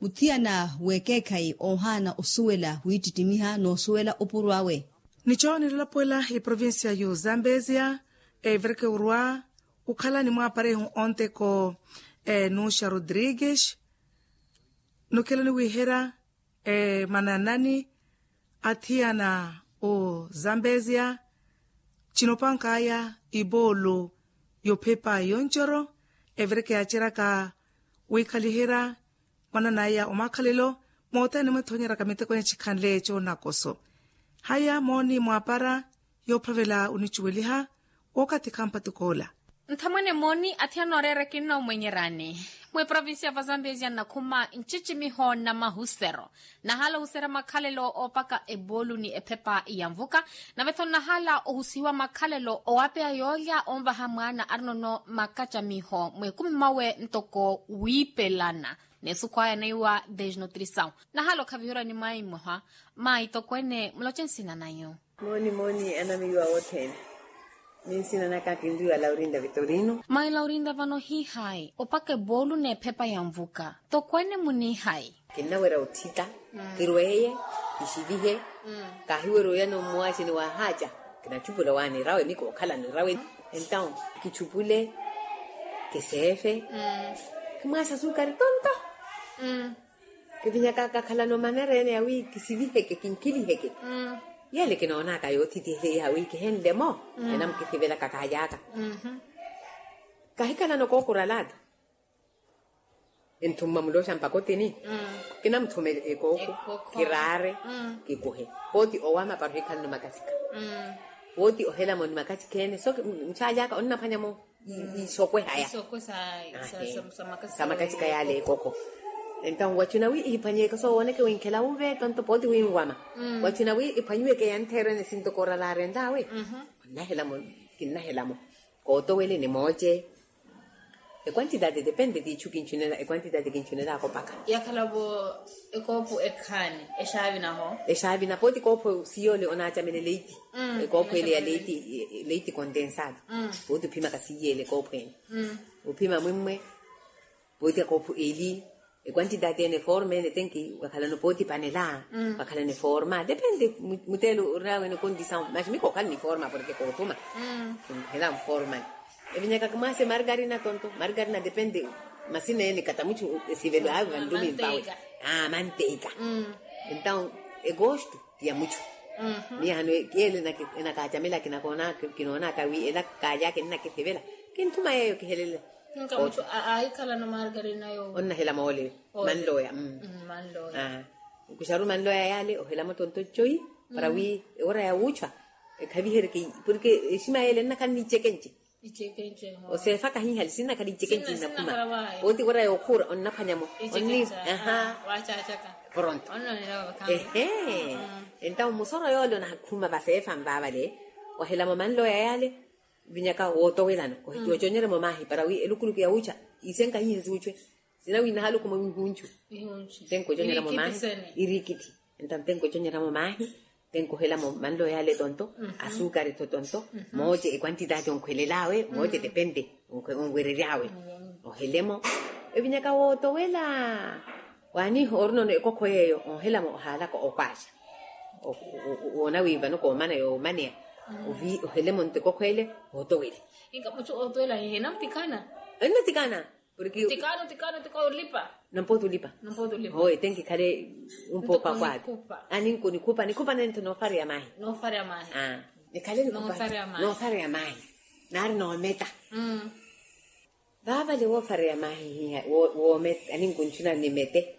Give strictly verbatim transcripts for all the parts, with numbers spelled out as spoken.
Muthiyana w'ekeekhayi oohaana osuwela wiittittimiha n'osuwela opuro awe. Nicho nilalapuwela eprovincia y'ozambezia, evireke orwa okhala ni mwaaparehu onteko, nuxa rodrigues, nukhela niwiihera mananani athiyana, ozambezia, cinopank'aya ipoolo y'ophepa yoncoro, evireke yaaceryaka wiikhaliherya mwanan'aya omakhalelo, moothene mwethoonyeraka miteko ene chikhanle eco nakoso. Haya mooni mwaapara yoophavela onicuweliha wookathi khampatuk'ola. Nthamwene mooni athiyana oreera kinnoomwenyerani. Mweprovincia va zambezia nnakhuma ncicimiho na mahusero, nahala ohuserya makhalelo oopaka epoolu ni ephepa ya nvuka. Nave-tho nnahala ohusihiwa makhalelo owaapeya yoolya onvaha mwaana arinono makacamiho mw'ekumi mwawe ntoko wiipelana n'esukhwaya neiwa desnutrisaw. Nahala okhaviherya ni maayi mmoha. Maayi tokweene muloce nsina nanyu. Mooni mooni anamiiwa wothene. Ni nsina naka kinriwa laurinda vitorino. Maayi laurinda vano ohihayi opaka epoolu n'ephepa ya nvuka tokweene munihayi. Kinnawerya otthita, kirweeye, kixivihe. Kaahiwerya oyana omuwaxini waahaaca. Kinachupula waanirawe ni kookhala nirawe. Entaw kichupule, kiseefe, kimwaasa asukari tonto. Kivinyaka kakhalana omanereene yawi kisiviheke kinkhiliheke. Yele kinoonaka yoothitiheiha wi kihenle-mo, enamukisivelaka kaayaka. Kahikhalana okookuralata. Enthumma muloxa mpakotini. Kinamuthuma ekooko, kiraare, kikuhe. Pooti owama para ohikhalana omakasika. Pooti ohelamo ni makasika ene so muchaalyaka onnaphwanya-mo. Isokwe haya. Samakasika yale ekoko. Entaw wachuna wi ihiphwanyeke soowooneke winkhela wuve tonto pooti winwama. Wachuna wi iphwanyiweke yanttheerene sintokoorala arenlawe. Onnahelamo, kinnahelamo. Kootowele ni mooce. Ekwantitaati depende tiichu kinchunela ekwantitaati kinchunela akopaka. Yakhalavo ekoopu ekhaani exaavinaho. Exaavina pooti koophu siyoole onaacamele leiti. Ekoophu ele ya leiti, leiti kontensaatu. Pooti ophimaka siyeele ekoophu ene. Ophima mwimmwe. Pooti akoophu eli. Ekwantitaati ene forma ene tenki wakhalana pooti panela. Wakhalana forma depende. Muteelo orina wene kondisaw maxi mikookhala ni forma porke koothuma. Hela forma. Evinyaka kimwaase margarina tonto margarina depende. Masina ene katamuchu esivelo awe vandumimpawe. Manteika. Entaw egostu ya muchu. Miya hano kiyele enakaacamela kinoonaka wi ela kaalyaka ennakesevela. Kinthuma yeeyo kihelele. Nkamuchu ahikhalano margarina yo onnahela moole. Manloya. Manloya. Nkuxaru manloya yale ohelamo tonto ncoyi para wi ewora ya wuuchwa ekhavihereke. Porke exima yele ennakhala nicekenci. Oseefa kahihali sinnakhala icekenci nnakhuma. Pooti wira yookhuura onnaphwanyamo. Onni. Pronto. Ehe. Entawo musoro yoole onakhuma vaseefa nvaavale. Wahelamo manloya yale. Vinyaka wootowelano. Yooconyeremo maahi para wi elukuluku ya wuucha isenkahihe suuchwe. Sina wi nahalukhuma wihunchu. Tenkooconyeramo maahi. Iriikithi. Entawo tenkooconyeramo maahi. Tenkohelamo manlo yaale tonto. Asukari tho tonto. Mooce ekwantitaati onkhwelelaawe mooce depende. Onwereryaawe. Ohelemo. Evinyaka wootowela. Waaniiha orinono ekokho yeeyo onhelamo ohaalaka okwaaxa. Woona wi vano koomana yoomaneya. Ohelemo nto ekokho ele. Wootowele. Inka muchu ootowela hihe enamutikana. Enamutikana. Porke tikano tikano tiko olipa. Nampooti olipa. Nampooti olipa. Hoye tenkikhale. Umpoopa kwaati. Aninko nikhupa nikhupa nentho noofareya maahi. Noofareya maahi. Nikhale nikhupa. Noofareya maahi. Naari noometa. Vaavale woofareya maahi hiha. Woometa aninko nchuna nimete.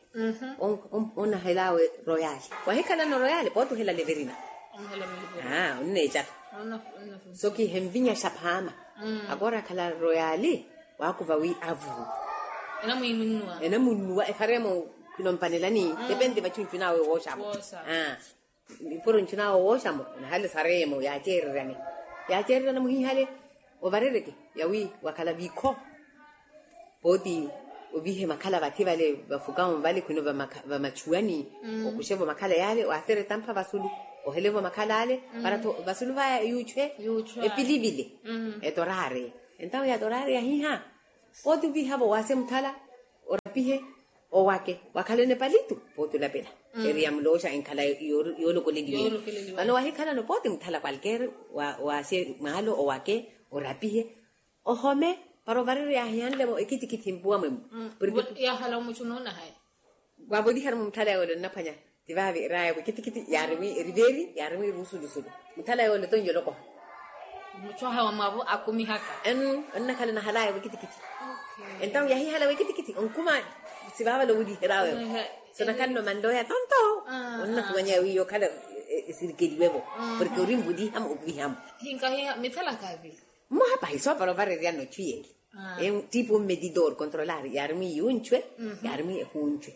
Onahelawe royale. Wahikhalano royale pooti ohela leverina. Onneecata. Sokihenvinya xaphaama. Akoora akhala royale. Waakuva wi avu. Enamunnuwa efaremo. Khwinompanelani depende vachu nchunawe wooxamo. Ipuro nchunawe wooxamo nahale saremo yaaceereryane. Yaaceereryane muhihale. Ovarereke yawi wakhala vikho. Pooti ovihe makhala vathi vale vafukawo vale khwino vamachuwani. Okuxevo makhala yale waasereta mpha vasulu. Ohelevo makhala ale para tho vasulu vaya yuuchwe. Epilivile. Etoraare. Entawo yatoraare yahiha. Pooti ovihavo waase muthala. Pihe owake wakhalene palitu pooti olapela. Eri yamulooxa enkhala yoolokoleliwene. Vano wahikhalano pooti muthala kwalkeeri waase mwaalo owake orapihe ohome para ovarereya ahihanle-mo ekitikiti mpuwa mwemmu. Purke yahala omuchu nuunahayi. Wavolihari-mo muthala yole onnaphwanya ti vaavi eraya wekitikiti yaari mwi eri veeri yaari mwi ruusulusulu. Muthala yole tonjolokoha muchu ahawa mwavo akumihaka. Onnakhala nahalaya wekitikiti. Entawu yahihala wekitikiti onkuma sivaavala ovuliherya wevo. Sonakhalana omanloya tonto onnahuwanya wiiya okhala esirikeliwe-vo. Porke ori nvuliha-mo okuviha-mo. Hinkahiha mithalaka vi. Mmoha pahi soopara ovareryana ochu yeeli. Tipu mmedidor controlar yaari mwi yuunchwe yaari mwi ehuunchwe.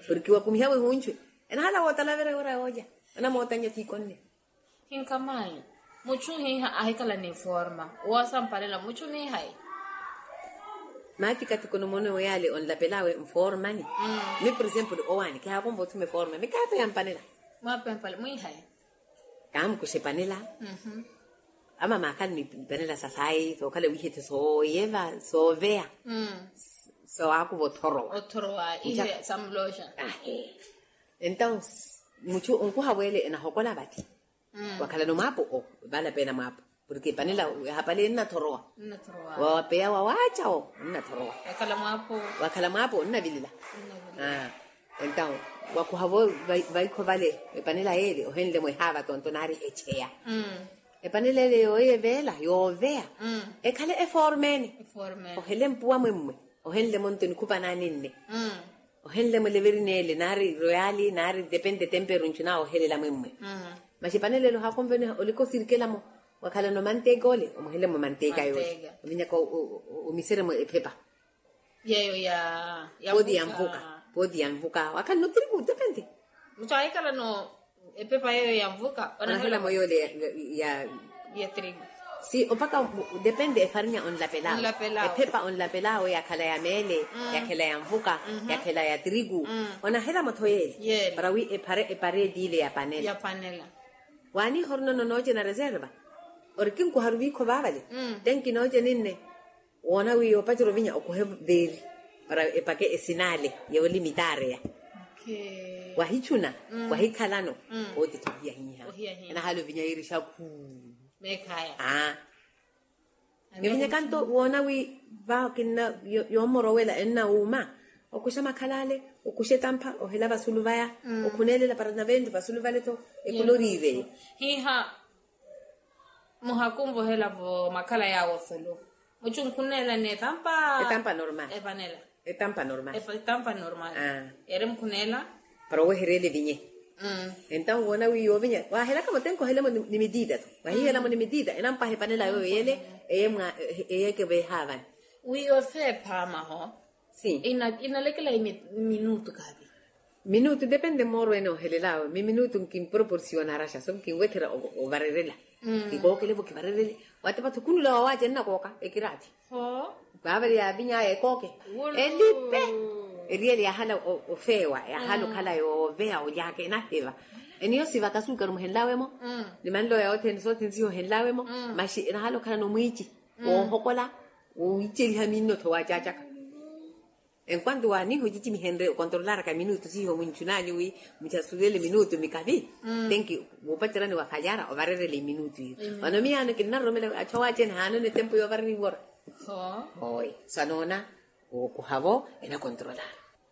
Porke wakumiha-vo ehuunchwe enahala wootalavereya ora yoolya. Anamootanya tiikonne. Hinka mayi muchu hiha ahikhala ni forma woosampanela muchu nihayi. Maatikatiko nomoone oyaale onlapelaawe nformani. Mi por exemplo owaani kihaakonva othuma eforma mikaape yampanela. Mwaape yampanela mwihayi. Kaamukuxa epanela. Ama maakhala ni epanela sa sayi sookhala wiihethe sooyeva sooveya. Sowaakuva othorowa othorowa. Ihe samulooxa. Entawu muchu onkuha weele enahokola vati. Wakhalana omwaapo o vala peena mwaapo porke epanela ehapale ennathorowa. Wapeya wawaacha o ennathorowa. Wakhala mwaapo onnavilela. Entawu wakuhavo vaikho vale epanela yeele ohenle-mo ehaava tonto naari echeya. Epanela ele yooyeveela yooveya ekhale eformene. Ohele mpuwa mwemmwe ohenle-mo nto nikhupanani nne. Ohenle-mo leveri neele naari royali naari depende temperu nchuna ohelela mwemmwe. Masi epanela ele ohaakonvene olika osirikela-mo wakhalana omanteeka ole omuhele-mo manteeka yoosi. Ovinyaka omisere-mo ephepa. Yeyo ya pooti ya nvuka. Pooti ya nvuka wakhalana otiriku depende. Muchu ahikhalano epepa yeyo ya nvuka onahela-mo yoole ya ya trigu. Si opaka depende efarinya onlapelaawe. Ephepa onlapelaawe yakhala ya meele yakhela ya nvuka yakhela ya trigu. Onahela-mo tho yeele para wi epare epare etiile ya panela. Waaniiha orina nonoocena reserva ori kinkuharu viikho vaavale. Tenki nooceni nne woona wi yoopacerya ovinya okuhe veeri para epake esinaale yoolimittareya. Wahichuna wahikhalano pooti tho ohiyahiha. Enahala ovinya yiiri xakhuu. Mivinya kanto woona wi va kinna yoomorowela ennawuuma okuxa makhalale okuxa etampha ohela vasulu vaya okhunelela para naventu vasulu vale tho. Ekhuloriireyo hiha. Muhakunvohela-vo makhala yaawo osulu muchu nkhuneela ni etampa. Etampa normal. Epanela. Etampa normal. Etampa normal. Eri mukhuneela para owehereela evinye. Entawu woona wi yoovinya waahelaka-mo tenki ohele-mo ni mitita tho wahiihela-mo ni mitita enampaha epanela yooyo yeele. Eye mwa eye ekeveehaavani. Wi ofeephaama-ho. Inalekelayi minutu kaavi. Minutu depende mooro ene ohelelaawe mi minutu nkinproporsionaraxa so nkinwetherya ovarerela. Kikookele-vo kivarerele. Watepa-tho khunula wawaace nnakooka ekiraathi. Vaavale yaaviny'aya ekooke elipe. Eriyele yaahala ofeewa yaahala okhala yooveya olyaka enahiva. Eniyo sivaka suukari muhenlaawe-mo. Ni manlooya othene sothene sihohenlaawe-mo. Maxi enahala okhala nomwiici woohokola. Wiiceliha minno tho waacaacaka. Enkwanto waaniiho cicimihenrye okontrolaraka minutu siiho munchunanyu wi muchasulele minutu mikavi. Tenki wuupacerani wa falyara ovarerela eminutu iyo. Vano miyaano kinnaroromela achu awaaci ene haanoona etempu yoovareriwa ora. Hooyi. Swanoona okuhavo enakontrolara.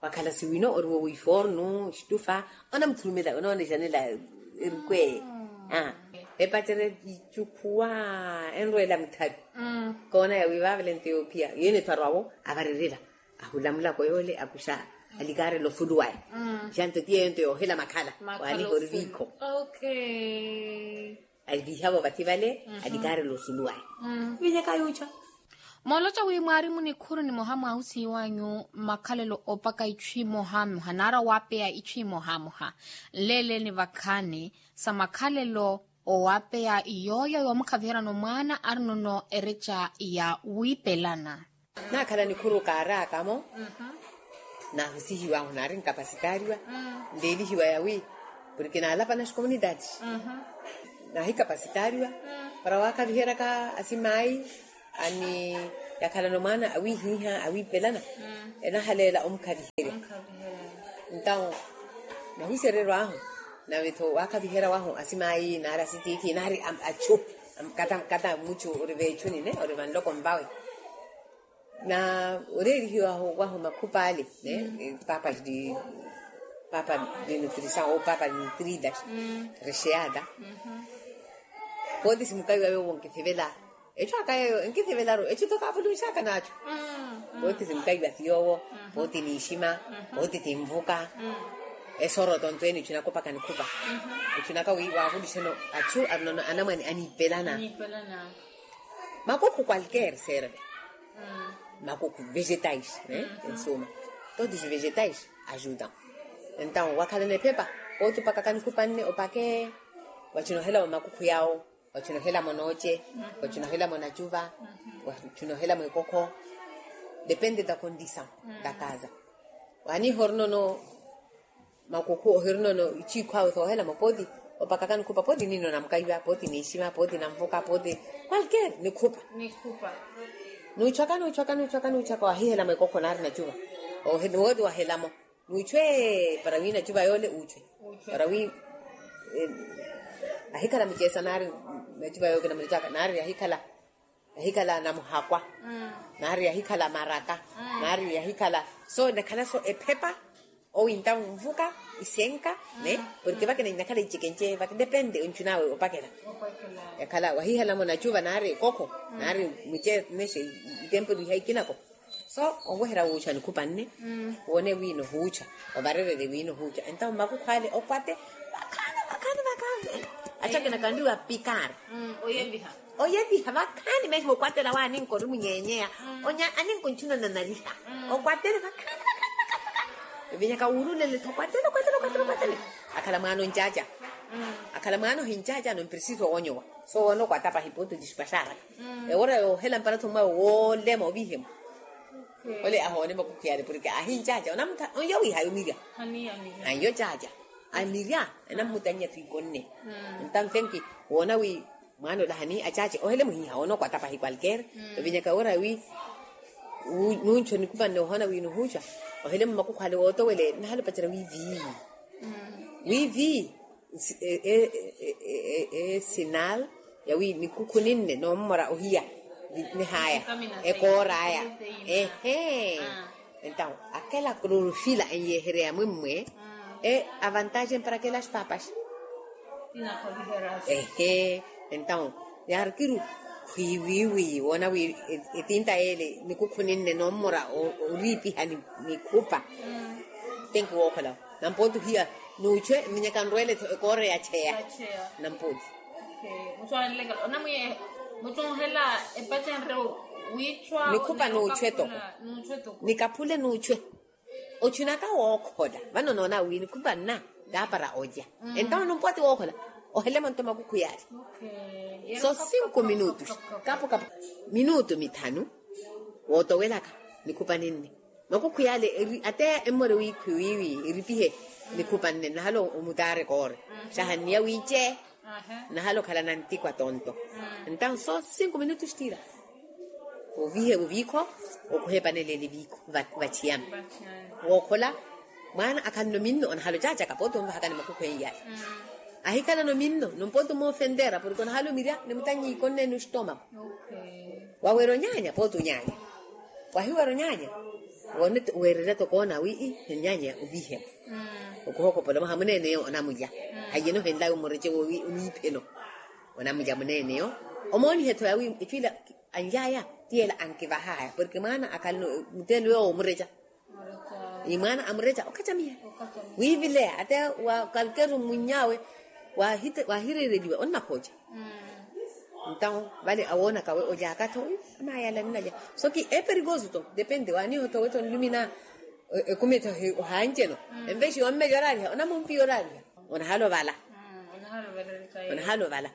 Wakhala siwino oriwo wifornu xitufa onamuthurumela onoonejanela. Erukwe epacerya icukhuwa enrwela mutharu. Koona yawi vaavale nto yoophiya yene ethu arwavo avarerela. Ahulamulako yoole akuxa alikaarela ofulu waya. Xanto ti yeyo nto yoohela makhala. Waaniha ori viikho. Aliviihavo vathi vale alikaarela osulu waya. Vinyaka yuucha. Mooloca wi mwaari munikhuru nimoha mwaahusihiwanyu makhalelo opaka ichu imohamoha naari owaapeya ichu imohamoha. Nleeleni vakhaani sa makhalelo owaapeya yooyo yoomukhaviheryana omwaana arinono ereca ya wiipelana. Naakhala nikhuru kaaraaka-mo. Naahusihiwahu naari nkapasitaariwa nleelihiwa yawi porke naalapana xikomunitaati. Naahikapasitaariwa para waakhaviheryaka asimaayi ani Yakhalana omwaana awiihiiha awiipelana, enahaleela omukhaviherya. Ntawo nahusereryo ahu, nave-tho waakhaviherya wahu asimaayi naari asitiithi naari achu, kata muchu ori veechuni ne ori vanloko nvawe. Na oreerihiwa wahu makhup'ale ne, paapa di paapa di nutrisaw ou paapa di nutridas, recheada. Pooti simukaiwa yoowo nkithivela, etthu aka yeeyo enkithivelaru etthu-tho kaavuluxaka n'achu. Pooti simukaiwa ti yoowo, pooti niixima, pooti ti nvuka. Esoro tonto ene etthu nakopaka nikhupa. Etthu naka wi waavuluxeno achu arinono anamwane aniipelana. Makukhu qualquer serve. Makukhu vegetais, ensuma, todos os vegetais ajudam. Entawo wakhalana ephepa, pooti opakaka nikhupa nne opake. Wachinohela wa makukhu yawo, wachinohela mo nooche, wachinohela mo nachuva, wachinohela mo ekokho. Depende da condisaw da kaza. Waniiha orinono makukhu ohirinono ichiikhu awe soohelamo pooti, opakaka nikhupa pooti nino namukaiwa pooti niixima pooti namvuka pooti, qualquer nikhupa. Nuuchwaka nuuchwaka nuuchwaka nuuchwaka wahihela mwekokho naari nachuva. Wooti wahelamo nuuchwe para wi nachuva yoole uuchwe. Para wi ahikhala mucheesa naari nachuva yookina mulichaka naari ahikhala ahikhala namuhakwa, naari yahikhala maraka, naari yahikhala so nakhala so ephepa. Owinta nvuka isenka ne, porke vakina inakhala ichekenche vaki depende onchun'awe opakela. Yakhala wahihelamo nachuva naari ekokho, naari muche neshe itempelo ihayi kinako. So onweherya wuucha nikhupa nne, woone wiina ohuucha, ovarererye wiina ohuucha entawo mmakukhwale okwate. Vakhaani vakhaani vakhaani. Achakina kandiwa pikar. Oyeviha vakhaani mesmo okwatela waaninka ori munyeenyeya. Onya aninka ontchuna nanariha. Okwatele vakhaani vakhaani vakhaani vakhaani. Evinyaka wuurulele-tho okwatele okwatele okwatele okwatele. Akhala mwaana oncaca. Akhala mwaana ohincaca no mprisiso oonyowa. So woona okwata pahi ponto dispaxaraka. Ewora yoohela mpara-tho mwawe woolema ovihemo. Ole ahoone makukhu yale porke ahincaca onamutha onyo wiiha yomirya. Anyo caca anirya. Enammutannya twiikonne. Ntanfenki woona wi mwaana ola hani acace ohele muhiha onokwata pahi qualquer. Ovinyaka ora wi nuncho nikuvanne ohona wi nuhuca ohele mumakukhu ale wootowele nahale opacerya wi vii. Wi vii esinal yawi nikukhu ninne nommora ohiya nihaya ekooraya. Ehe. Entawo akela klorofila enyehereya mwimmwe e avantaje mpara kela xpapaxa. Ehe. Entawo yaarikiru khwiiwiiwi woona wi etinta yeele nikukhu ninne nommora oriipiha nikhupa. Tenki wookholawo nampooti ohiya nuuchwe mminyaka nrweele-tho ekoora yacheya. Nampooti nikhupa nuuchwe-to. Nikaphule nuuchwe. Ochunaka wookhola vano noona wi nikhupa nna taapara olya. Entawo numpooti wookhola ohele monto makukhu yaale. So sinku minutos kapu kapu minutu mithanu wootowelaka nikhupa ninne. Makukhu yaale ate emmore wiikhwi wiiwi eripihe nikhupa nne nahale omutaare koore. Xahanniya wiice nahale okhala nantikwa tonto. Entawo so sinku minutu xitira ovihe oviikho okuhepanelele viikho vachiyami. Wookhola mwaana akhalano minno onahale ocacaka pooti onvahakani makhukhu enyayi. Ahikhalano minno nompooti omoofentera porke onahale omirya nimutanyiikonne ni ostomako. Waweera onyaanya pooti onyaanya. Wahiweera onyaanya woone weererya tokoona wi ii onyaanya oviihemo. Okuhokopola mwaha muneene yo onamulya haiyeno henlawe omurece wowi oniipheno. Onamulya muneene yo omoonihe-tho yawi etthu ila anly'aya ti ela ankivah'aya porke mwaana akhalano muteelo yoowo omureca. Ni mwaana amureca okhatamiya wiivileya ate wa kalkeru mwiny'awe wahireereliwa onnakhooca. Ntawo vale awoonaka we olyaka-tho wi anayala ninalya. So ki eperikosu-tho depende waaniho-tho we-tho nlumina ekumi-tho ohanceno. Envexi yommelya oraariha onamumpiya oraariha. Onahala ovala. Onahala ovala.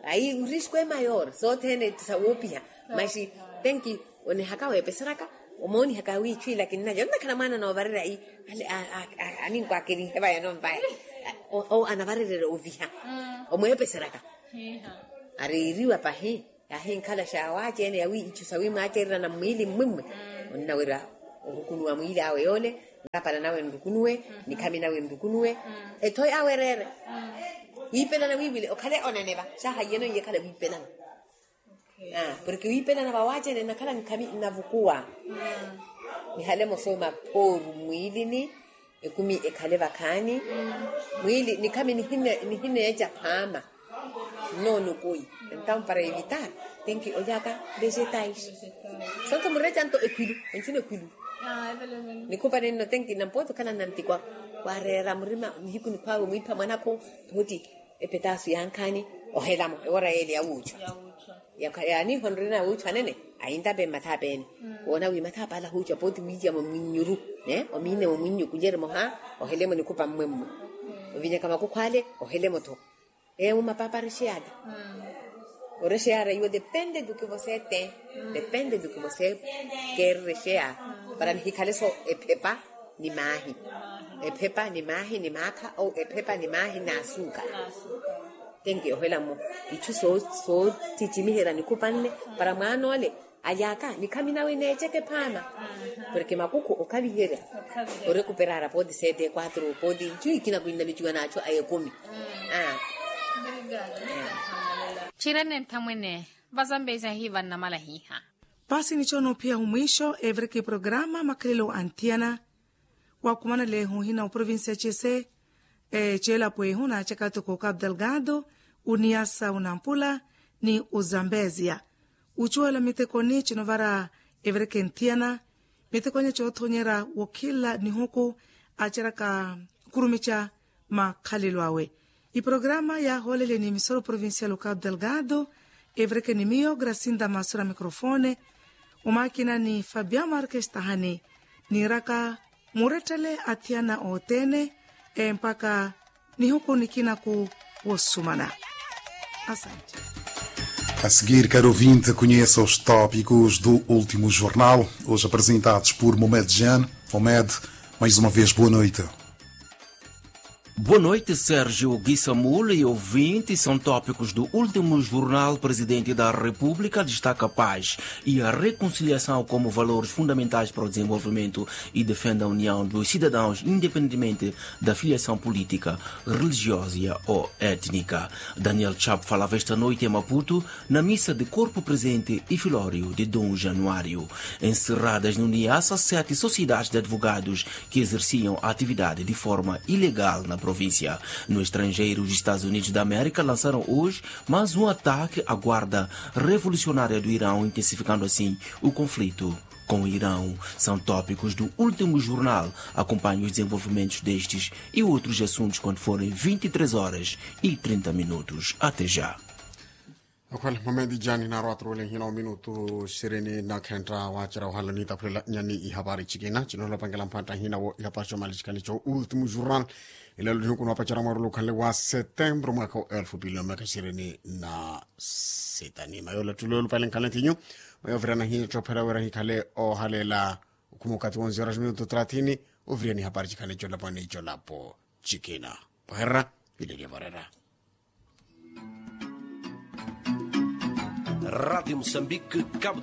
Ayi urisko emayor sothene ti sawoopiha. Maxi tenki onihaka weepeseraka omoonihaka wiichwiila kinnalya onnakhala mwaana noovarerya ayi aninkwakerihe vaya nonvaya. Owo anavarererya oviha omweepeseraka. Areeriwa pahi. Yaahinkhala xaawaaci-ene yawi ichu sawimwaacererya na mmwiili mmwimwi. Onnawerya orukunuwa mwiili awe yoole, nrapala nawe nrukunuwe, nikhami nawe nrukunuwe. Etho yawe ereere wiipelana wiiwile okhale oneneva xahaiyeno iye ekhale wiipelana. Porke wiipelana vawaaci-ene nnakhala nkhami nnavukuwa. Nihale mosooma phooru mmwiilini, ekumi ekhale vakhaani. Mwiili nikhami nihineeca phaama. Nnoonukui. Entampara evitar tenki olyaka vegetais. Sonto mureca nto ekhwilu. Entino ekhwilu. Nikhupani nno tenki nampooti okhala nnantikwa. Wareera murima nihiku nikhwaawe mwiipha mwanakhu. Pooti epetaasu yankhaani ohelamo ewora yeele yawuuchwa. Yaaniiho nrina wuuchwa anene. Ayintape mmathaapeni woona wi mathaapa ala ahuuchwa pooti wiityamo mminnyuru. Omiine wo mwinnyu kulyerimo ha ohelemo nikhupa mmwemmwe. Ovinyaka makukhu ale ohelemo tho. Ewu mapaapa arexeyaka. Orexeyara iwo depende duki vosete. Depende duki vosekeererexeya para nihikhale so ephepa ni maahi. Ephepa ni maahi ni maakha ou ephepa ni maahi n'asuukara. Tenki ohela mmo ichu soocicimiherya nikhupanle para mwaana ole alyaka nikhami nawe neeceke phaama. Porke makukhu okhaviherya orekuperaara pooti sete kwatru pooti nchu ikina kwinnamiciwa n'achu a ekumi. Txirene nthamwene vazambezi ahiivanna malahiha. Paasi nicho noophiya humwiixo evireke programa makhalelo anthiyana. Wakhumana leeho hina oprovincia chese cheelapo ehu naacaka toko capital gado, uniyasa unampula ni uzambezia. Uchuwela mitekoni chinovara evireke nthiyana mitekonya choothonyera wokhila nihuku acheraka khurumicha makhalelo awe. Iprograma yaahoolele ni emisora provincial o capital gado. Evireke ni miyo gracinda masura microfone. Omaakina ni fabia markestahani niiraka murettele athiyana othene empaka nihuku nikinaku wosumana. Asante. A seguir karo ouvinte conheça os tópicos do último jornal hoje apresentados por momed jean. Momed, mais uma vez boa noite. Boa noite sérgio guissamul e ouvinte são tópicos do último jornal presidente da república destaca paz e a reconciliação como valores fundamentais para o desenvolvimento e defende a união dos cidadãos independentemente da filiação política, religiosa ou étnica. Daniel chap falava esta noite em maputo na missa de corpo presente e filório de dom januário. Encerradas no niassa sete sociedades de advogados que exerciam a atividade de forma ilegal na província. No estrangeiro, os estados unidos da américa lançaram hoje mais um ataque à guarda revolucionária do irão intensificando assim o conflito com o irão. São tópicos do último jornal. Acompanhe os desenvolvimentos destes e outros assuntos quando forem vinte e três horas e trinta minutos até já. Okhwela momedi jani naarwa aturuwele nhina ominutu sirini na khentta waacerya ohala niitaphulela nyani ihapari cikina cinoolopangela mphantta nhina wo ihapari comalisikani co ultimo jornal. Elelo nihuku noopacerya mwarulu okhanle wa setembro mwaka wa elfu pili na miyaka sirini na sita ni mayola ttulo yolupale nkhanle ntinyu. Mayovirana hittopherya wira hikhale ohaleela okhuma okathi wonze horas minutu trathini. Ovirya ni hapari cikhale colaponi colapo cikina pwaherera. Ilelya varera. Rádio Moçambique, Cabo